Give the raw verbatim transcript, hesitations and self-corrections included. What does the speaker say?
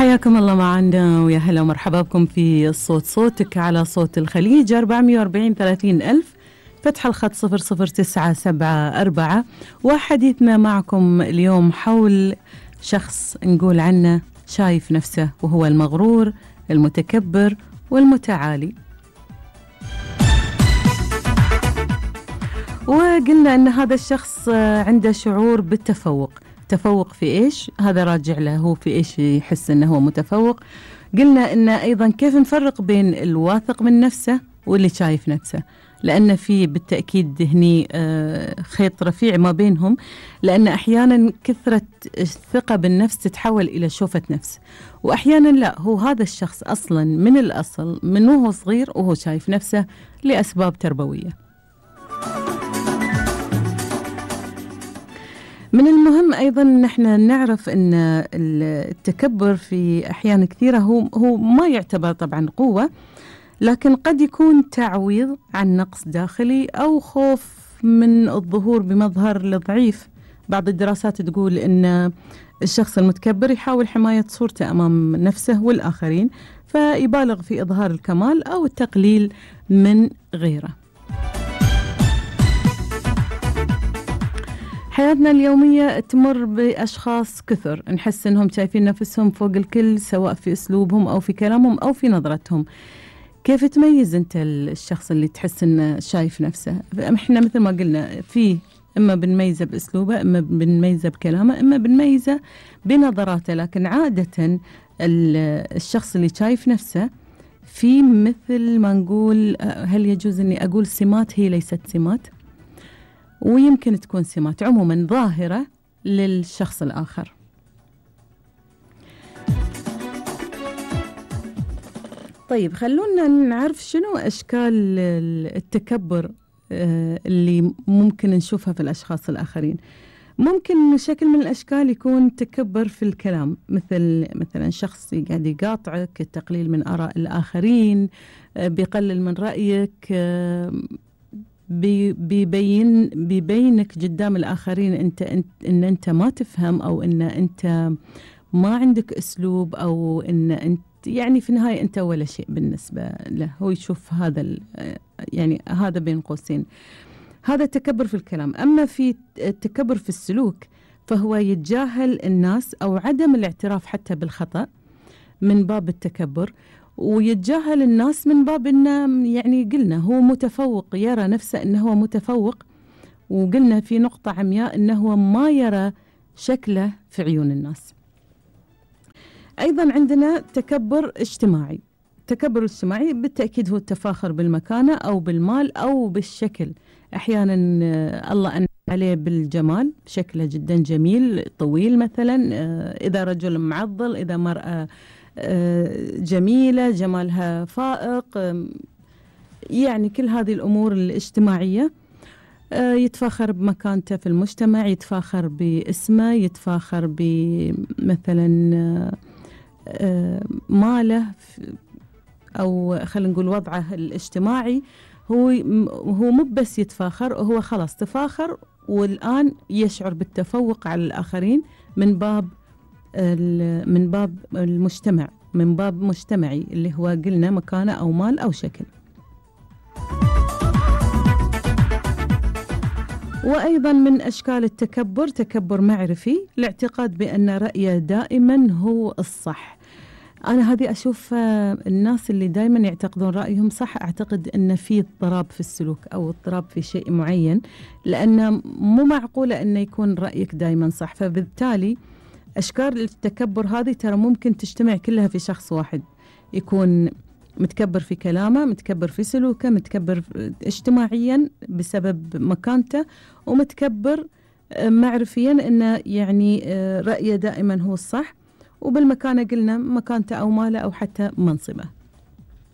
حياكم الله معنا ويا هلا ومرحبا بكم في صوت صوتك على صوت الخليج أربعمية وأربعين ثلاثين ألف، فتح الخط صفر صفر تسعة سبعة أربعة. وحديثنا معكم اليوم حول شخص نقول عنه شايف نفسه وهو المغرور المتكبر والمتعالي. وقلنا أن هذا الشخص عنده شعور بالتفوق. تفوق في إيش؟ هذا راجع له هو في إيش يحس أنه هو متفوق. قلنا أن أيضا كيف نفرق بين الواثق من نفسه واللي شايف نفسه، لأن في بالتأكيد هني خيط رفيع ما بينهم، لأن أحيانا كثرة الثقة بالنفس تتحول إلى شوفة نفس، وأحيانا لا، هو هذا الشخص أصلا من الأصل من وهو صغير وهو شايف نفسه لأسباب تربوية. من المهم أيضا نحن نعرف أن التكبر في أحيان كثيرة هو, هو ما يعتبر طبعا قوة، لكن قد يكون تعويض عن نقص داخلي أو خوف من الظهور بمظهر ضعيف. بعض الدراسات تقول أن الشخص المتكبر يحاول حماية صورته أمام نفسه والآخرين، فيبالغ في إظهار الكمال أو التقليل من غيره. حياتنا اليومية تمر بأشخاص كثر نحس أنهم شايفين نفسهم فوق الكل، سواء في أسلوبهم أو في كلامهم أو في نظرتهم. كيف تميز أنت الشخص اللي تحس أنه شايف نفسه؟ إحنا مثل ما قلنا في إما بنميزه بأسلوبه، إما بنميزه بكلامه، إما بنميزه بنظراته، لكن عادة الشخص اللي شايف نفسه في مثل ما نقول، هل يجوز أني أقول سمات؟ هي ليست سمات، ويمكن تكون سمات عموما ظاهرة للشخص الآخر. طيب خلونا نعرف شنو أشكال التكبر اللي ممكن نشوفها في الأشخاص الآخرين. ممكن شكل من الأشكال يكون تكبر في الكلام، مثل مثلا شخص قاعد يقاطعك، التقليل من آراء الآخرين، بيقلل من رأيك، بيبين بيبينك قدام الآخرين أنت, أنت إن أنت ما تفهم، أو إن أنت ما عندك أسلوب، أو إن أنت يعني في النهاية أنت ولا شيء بالنسبة له. هو يشوف هذا يعني هذا بين قوسين، هذا التكبر في الكلام. أما في التكبر في السلوك فهو يتجاهل الناس أو عدم الاعتراف حتى بالخطأ من باب التكبر، ويتجاهل الناس من باب إنه يعني قلنا هو متفوق، يرى نفسه إنه هو متفوق، وقلنا في نقطة عمياء إنه هو ما يرى شكله في عيون الناس. أيضا عندنا تكبر اجتماعي. التكبر الاجتماعي بالتأكيد هو التفاخر بالمكانة أو بالمال أو بالشكل. أحيانا الله أنعم عليه بالجمال، شكله جدا جميل طويل مثلا، إذا رجل معضل، إذا مرأة جميلة جمالها فائق، يعني كل هذه الأمور الاجتماعية. يتفاخر بمكانته في المجتمع، يتفاخر باسمه، يتفاخر بمثلا ماله أو خلينا نقول وضعه الاجتماعي. هو هو مو بس يتفاخر، هو خلاص تفاخر والآن يشعر بالتفوق على الآخرين من باب من باب المجتمع، من باب مجتمعي اللي هو قلنا مكانة أو مال أو شكل. وأيضا من أشكال التكبر تكبر معرفي، الاعتقاد بأن رأيه دائما هو الصح. أنا هذه أشوف الناس اللي دائما يعتقدون رأيهم صح، أعتقد أن في اضطراب في السلوك أو اضطراب في شيء معين، لأن مو معقولة أن يكون رأيك دائما صح. فبالتالي أشكال التكبر هذه ترى ممكن تجتمع كلها في شخص واحد، يكون متكبر في كلامه، متكبر في سلوكه، متكبر اجتماعيا بسبب مكانته، ومتكبر معرفيا أنه يعني رأيه دائما هو الصح، وبالمكانة قلنا مكانته أو ماله أو حتى منصبه.